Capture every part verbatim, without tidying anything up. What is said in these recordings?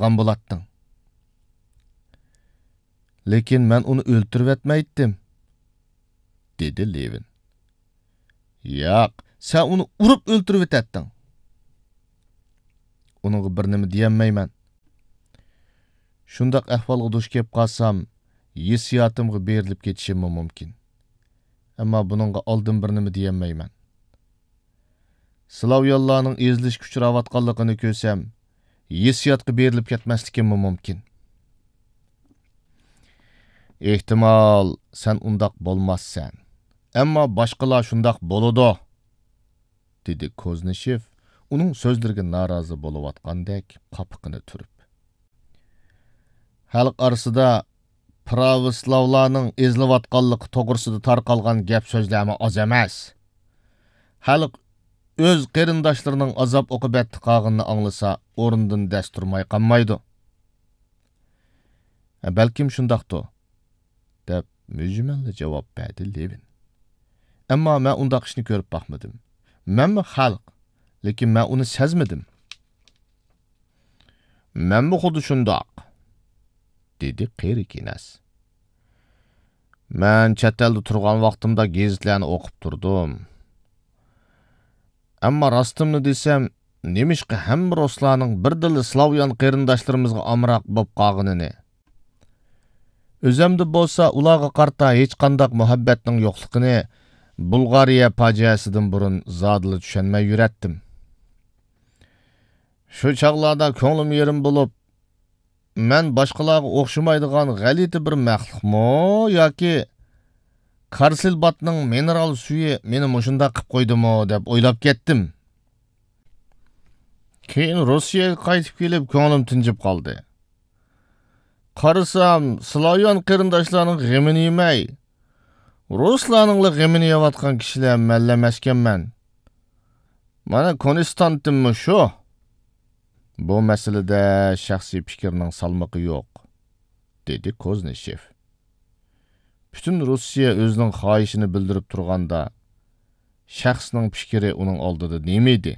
باققان بولاتتىڭ. لېكىن مەن ئۇنى ئۆلتۈرۈۋەتمەيتتىم، دېدى لېۋىن. ياق، سەن ئۇنى ئۇرۇپ ئۆلتۈرۈۋېتەتتىڭ. ئۇنىڭغا بىر نېمە دېيەلمەيمەن. شۇنداق ئەھۋالغا دۇچ كېلىپ قالسام، ھېسسىياتىمغا بېرىلىپ كېتىشىممۇ مۇمكىن. ئەمما بۇنىڭغا ئالدىن بىر نېمە دېيەلمەيمەن. سلاۋيانلارنىڭ ئېزىلىشكە ئۇچراۋاتقانلىقىنى كۆرسەم، ھېسسىياتقا بېرىلىپ كەتمەسلىكىممۇ مۇمكىن. ئېھتىمال، سەن ئۇنداق بولماسسەن. ئەمما باشقىلار شۇنداق بولىدۇ، دېدى كوزنىشېف ئۇنىڭ سۆزلىرىگە نارازى بولۇۋاتقاندەك قاپىقىنى تۈرۈپ. خەلق ئارىسىدا پراۋوسلاۋلارنىڭ ئېزىلىۋاتقانلىقى توغرىسىدا تارقالغان گەپ سۆزلەرمۇ ئاز ئەمەس. خەلق ئۆز قېرىنداشلىرىنىڭ ئازاب ئوقۇبەتتە قالغىنىنى ئاڭلىسا، ئورنىدىن دەس تۇرماي قالمايدۇ. بەلكىم شۇنداقتۇ، دەپ مۈجمەللا جاۋاب بەردى لېۋىن. ئەمما مەن ئۇنداق ئىشنى كۆرۈپ باقمىدىم. مەنمۇ خەلق، لېكىن مەن ئۇنى سەزمىدىم. مەنمۇ خۇددى شۇنداق، دېدى قېرى كېنەز. مەن چەت ئەلدە تۇرغان ۋاقتىمدا گېزىتلەرنى ئوقۇپ تۇردۇم. ئەمما راستىمنى دېسەم، نېمىشقا ھەممە رۇسلارنىڭ بىردىنلا سلاۋيان قېرىنداشلىرىمىزغا ئامراق بولۇپ قالغىنىنى، ئۆزەمدە بولسا ئۇلارغا قارىتا ھېچقانداق مۇھەببەتنىڭ يوقلۇقىنى بۇلغارىيە پاجىئەسىدىن بۇرۇن زادىلا چۈشەنمەي يۈرەتتىم. شۇ چاغلاردا كۆڭلۈم يېرىم بولۇپ، مەن باشقىلارغا ئوخشىمايدىغان غەلىتە بىر مەخلۇقمۇ ياكى كارسىلباتنىڭ مىنېرال سۈيى مېنى مۇشۇنداق قىپ قويدىمۇ دەپ ئويلاپ كەتتىم. كېيىن روسىيەگە قايتىپ كېلىپ، كۆڭلۈم تىنچىپ قالدى. قارىسام، سلاۋيان قېرىنداشلارنىڭ غېمىنى يېمەي، رۇسلارنىڭلا غېمىنى يەۋاتقان كىشىلەر مەنلا ئەمەسكەنمەن. مانا كونستانتىنمۇ شۇ. بۇ مەسىلىدە شەخسىي پىكىرنىڭ سالمىقى يوق، دېدى كوزنىشېف. پۈتۈن روسىيە ئۆزىنىڭ خاھىشىنى بىلدۈرۈپ تۇرغاندا، شەخسنىڭ پىكرى ئۇنىڭ ئالدىدا نېمە ئىدى؟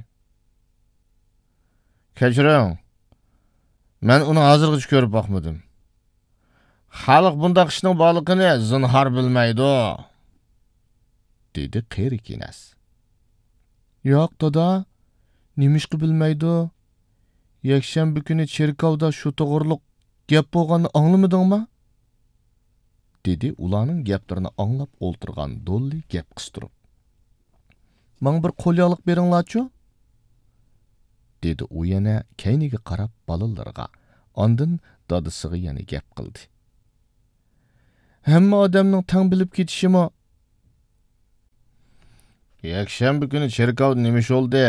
كەچۈرۈڭ، مەن ئۇنى ھازىرغىچە كۆرۈپ باقمىدىم. خەلق بۇنداق ئىشنىڭ بارلىقىنى زىنھار بىلمەيدۇ، دېدى قېرى كېنەز. ياق، دادا، نېمىشقا بىلمەيدۇ؟ يەكشەنبە كۈنى چېركاۋدا شۇ توغرۇلۇق گەپ بولغاننى ئاڭلىمىدىڭما؟ دېدى ئۇلارنىڭ گەپلىرىنى ئاڭلاپ ئولتۇرغان دوللى گەپ قىستۇرۇپ. ماڭا بىر قول ياغلىق بېرىڭلارچۇ؟ دېدى ئۇ يەنە كەينىگە قاراپ بالىلىرىغا، ئاندىن دادىسىغا يەنە گەپ قىلدى. ھەممە ئادەمنىڭ تەڭ بىلىپ كېتىشىمۇ. يەكشەنبە كۈنى چېركاۋدا نېمە ئىش بولدى؟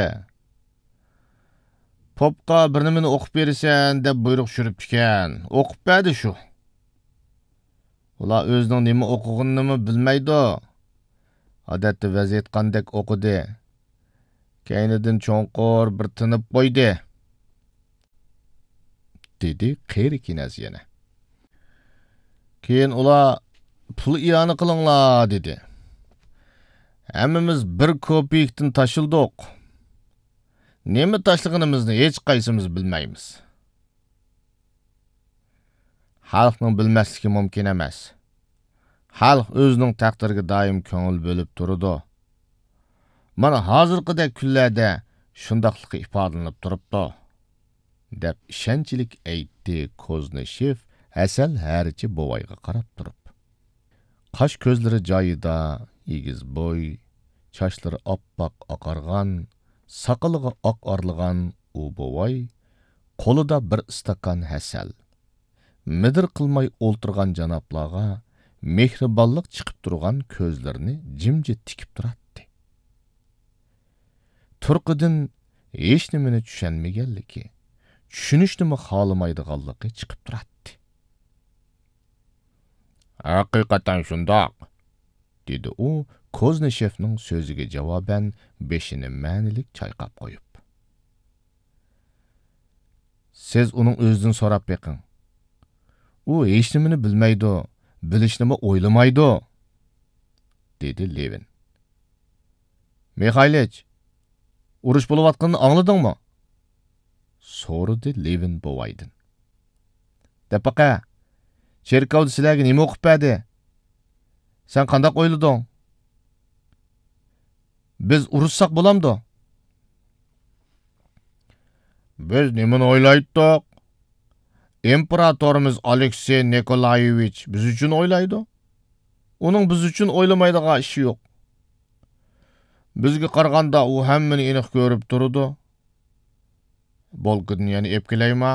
پوپقا بىر نېمىنى ئوقۇپ بېرىسەن دەپ بۇيرۇق چۈشۈرۈپتىكەن. ئوقۇپ بەردى شۇ. ئۇلار ئۆزىنىڭ نېمە ئوقۇغىنىنىمۇ بىلمەيدۇ. ئادەتتە ۋەز ئېيتقاندەك ئوقۇدى. كەينىدىن چوڭقۇر بىر تىنىپ قويدى، دېدى قېرى كېنەز يەنە. كېيىن ئۇلار، پۇل ئىئانە قىلىڭلار، دېدى. ھەممىمىز بىر كوپېيكتىن تاشلىدۇق. نېمە تاشلىغىنىمىزنى ھېچقايسىمىز بىلمەيمىز. خەلقنىڭ بىلمەسلىكى مۇمكىن ئەمەس. خەلق ئۆزىنىڭ تەقدىرىگە دائىم كۆڭۈل بۆلۈپ تۇرىدۇ. مانا ھازىرقىدەك كۈنلەردە شۇنداقلىقى ئىپادىلىنىپ تۇرۇپتۇ، دەپ ئىشەنچلىك ئېيتتى كوزنىشېف ھەسەل ھەرىچى بوۋايغا قاراپ تۇرۇپ. قاش كۆزلىرى جايىدا، ئېگىز بوي، چاچلىرى ئاپئاق ئاقارغان، ساقىلىغا ئاق ئارىلىغان ئۇ بوۋاي قولىدا بىر ئىستاكان ھەسەل، مىدىر قىلماي ئولتۇرغان جانابلارغا مېھرىبانلىق چىقىپ تۇرغان كۆزلىرىنى جىمجىت تىكىپ تۇراتتى. تۇرقىدىن ھېچنېمىنى چۈشەنمىگەنلىكى، چۈشىنىشنىمۇ خالىمايدىغانلىقى چىقىپ تۇراتتى. ھەقىقەتەن شۇنداق، دېدى ئۇ كوزنىشېفنىڭ سۆزىگە جاۋابەن بېشىنى مەنىلىك چايقاپ قويۇپ. سىز ئۇنىڭ ئۆزىدىن سوراپ بېقىڭ. ئۇ ھېچنېمىنى بىلمەيدۇ، بىلىشنىمۇ ئويلىمايدۇ، دېدى لېۋىن. مىخايلىچ، ئۇرۇش بولۇۋاتقىنىنى ئاڭلىدىڭمۇ؟ سورىدى لېۋىن بوۋايدىن. دەپ باقە، چېركاۋدا سىلەرگە نېمە ئوقۇپ بەردى؟ سەن قانداق ئويلىدىڭ؟ بىز ئۇرۇشساق بولامدۇ؟ بىز نېمىنى ئويلايتتۇق؟ ئىمپېراتورىمىز ئالېكسېي نىكولايېۋىچ بىز ئۈچۈن ئويلايدۇ. ئۇنىڭ بىز ئۈچۈن ئويلىمايدىغان ئىشى يوق. بىزگە قارىغاندا ئۇ ھەممىنى ئېنىق كۆرۈپ تۇرىدۇ. بولكىدىن يەنە ئېلىپ كېلەيما؟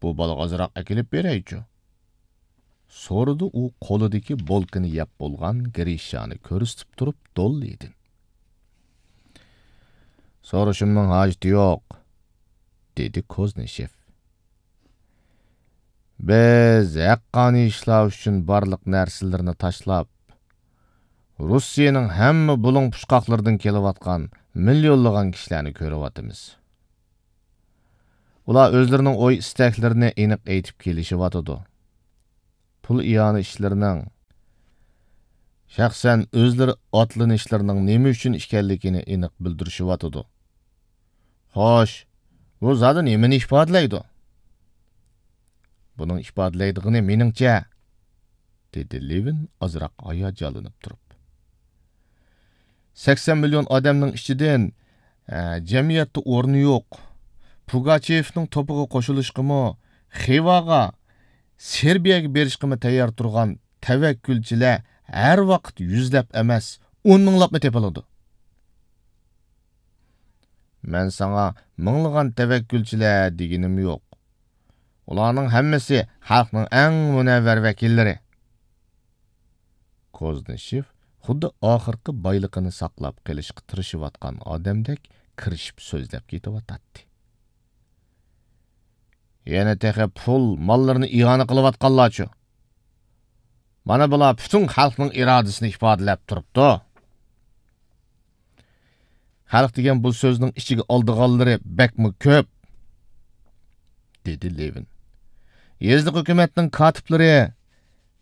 بۇ بالىغا ئازراق ئەكېلىپ بېرەيچۇ؟ سورىدى ئۇ قولىدىكى بولكىنى يەپ بولغان گرىشانى كۆرسىتىپ تۇرۇپ دوللىدىن. سورىشىمنىڭ ھاجىتى يوق، دېدى كوزنىشېف. بىز ھەققانىي ئىشلار ئۈچۈن بارلىق نەرسىلىرىنى تاشلاپ، روسىيەنىڭ ھەممە بۇلۇڭ پۇچقاقلىرىدىن كېلىۋاتقان مىليونلىغان كىشىلەرنى كۆرۈۋاتىمىز. ئۇلار ئۆزلىرىنىڭ ئوي-ئىستەكلىرىنى ئېنىق ئېيتىپ كېلىشىۋاتىدۇ. پۇل ئىئانە ئىشلىرىنىڭ، شەخسەن ئۆزلىرى ئاتلىنىشلىرىنىڭ نېمە ئۈچۈن ئىكەنلىكىنى ئېنىق بىلدۈرۈشۈۋاتىدۇ. خوش، بۇ زادى نېمىنى ئىپادىلەيدۇ؟ بۇنىڭ ئىپادىلەيدىغىنى مېنىڭچە، دېدى لېۋىن ئازراق ھاياجانلىنىپ تۇرۇپ. سەكسەن مىليون ئادەمنىڭ ئىچىدىن، ئە، جەمئىيەتتە ئورنى يوق، پۇگاچېۋنىڭ توپىغا قوشۇلۇشقىمۇ، خىۋاغا، سېربىيەگە بېرىشقىمۇ تەييار تۇرغان تەۋەككۈلچىلەر ھەر ۋاقىت يۈزلەپ ئەمەس، ئون مىڭلاپمۇ تېپىلىدۇ. مەن ساڭا مىڭلىغان تەۋەككۈلچىلەر دېگىنىم يوق. ئۇلارنىڭ ھەممىسى خەلقنىڭ ئەڭ مۇنەۋۋەر ۋەكىللىرى. كوزنىشېف خۇددى ئاخىرقى بايلىقىنى ساقلاپ قېلىشقا تىرىشىۋاتقان ئادەمدەك كىرىشىپ سۆزلەپ كېتىۋاتاتتى. يەنە تېخى پۇل، ماللىرىنى ئىئانە قىلىۋاتقانلارچۇ؟ مانا بۇلار پۈتۈن خەلقنىڭ ئىرادىسىنى ئىپادىلەپ تۇرۇپتۇ. خەلق دېگەن بۇ سۆزنىڭ ئىچىگە ئالىدىغانلىرى بەكمۇ كۆپ، دېدى لېۋىن. يېزىلىق ھۆكۈمەتنىڭ كاتىپلىرى،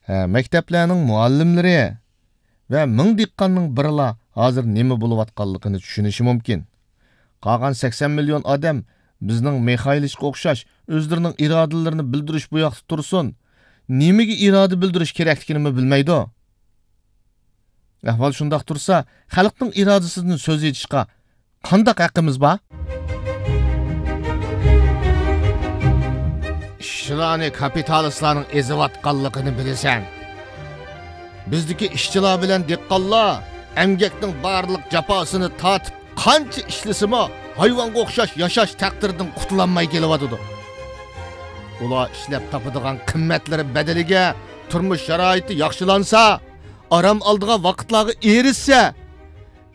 ھە، مەكتەپلەرنىڭ مۇئەللىملىرى ۋە مىڭ دېھقاننىڭ بىرىلا ھازىر نېمە بولۇۋاتقانلىقىنى چۈشىنىشى مۇمكىن. قالغان سەكسەن مىليون ئادەم بىزنىڭ مىخايلىچقا ئوخشاش ئۆزلىرىنىڭ ئىرادىلىرىنى بىلدۈرۈش بۇياقتا تۇرسۇن، نېمىگە ئىرادە بىلدۈرۈش كېرەكلىكىنىمۇ بىلمەيدۇ. ئەھۋال شۇنداق تۇرسا، خەلقنىڭ ئىرادىسىدىن سۆز ئېچىشقا قانداق ھەققىمىز بار؟ ئىشچىلارنى كاپىتالىستلارنىڭ ئېزىۋاتقانلىقىنى بىلىسەن. بىزدىكى ئىشچىلار بىلەن دېھقانلار ئەمگەكنىڭ بارلىق جاپاسىنى تارتىپ، قانچە ئىشلىسىمۇ، ھايۋانغا ئوخشاش ياشاش تەقدىرىدىن قۇتۇلالماي كېلىۋاتىدۇ. ئۇلار ئىشلەپ تاپىدىغان قىممەتلىرى بەدىلىگە تۇرمۇش شارائىتى ياخشىلانسا، ئارام ئالىدىغان ۋاقىتلارغا ئېرىشسە،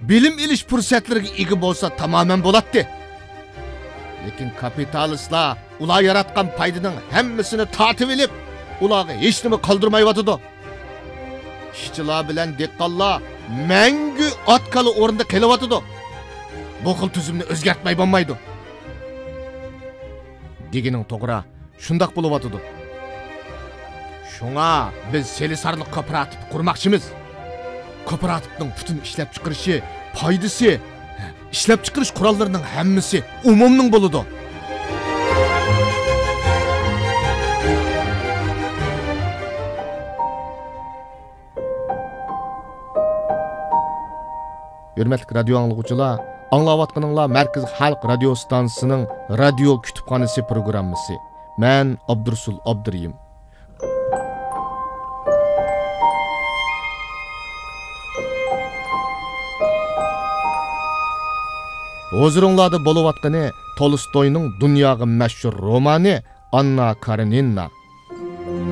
بىلىم ئېلىش پۇرسەتلىرىگە ئىگە بولسا تامامەن بولاتتى. لېكىن كاپىتالىستلار ئۇلار ياراتقان پايدىنىڭ ھەممىسىنى تارتىۋېلىپ، ئۇلارغا ھېچنېمە قالدۇرمايۋاتىدۇ. ئىشچىلار بىلەن دېھقانلار مەڭگۈ ئات-كالا ئورنىدا قېلىۋاتىدۇ. بۇ خىل تۈزۈمنى ئۆزگەرتمەي بولمايدۇ. دېگىنىڭ توغرا، شۇنداق بولۇۋاتىدۇ. شۇڭا بىز سېلىسارلىق كوپىراتىپى قۇرماقچىمىز. كوپىراتىپنىڭ پۈتۈن ئىشلەپچىقىرىشى، پايدىسى، ئىشلەپچىقىرىش قوراللىرىنىڭ ھەممىسى ئومۇمنىڭ بولىدۇ. ھۆرمەتلىك رادىيو ئاڭلىغۇچىلار، ئاڭلاۋاتقىنىڭلار مەركىزىي خەلق رادىيو ئىستانسىسىنىڭ رادىيو كۇتۇپخانىسى پروگراممىسى. مەن ئابدۇرۇسۇل ئابدۇرېھىم. ھۇزۇرۇڭلاردا بولۇۋاتقىنى تولستوينىڭ دۇنياغا مەشھۇر رومانى ئاننا كارېنىنا.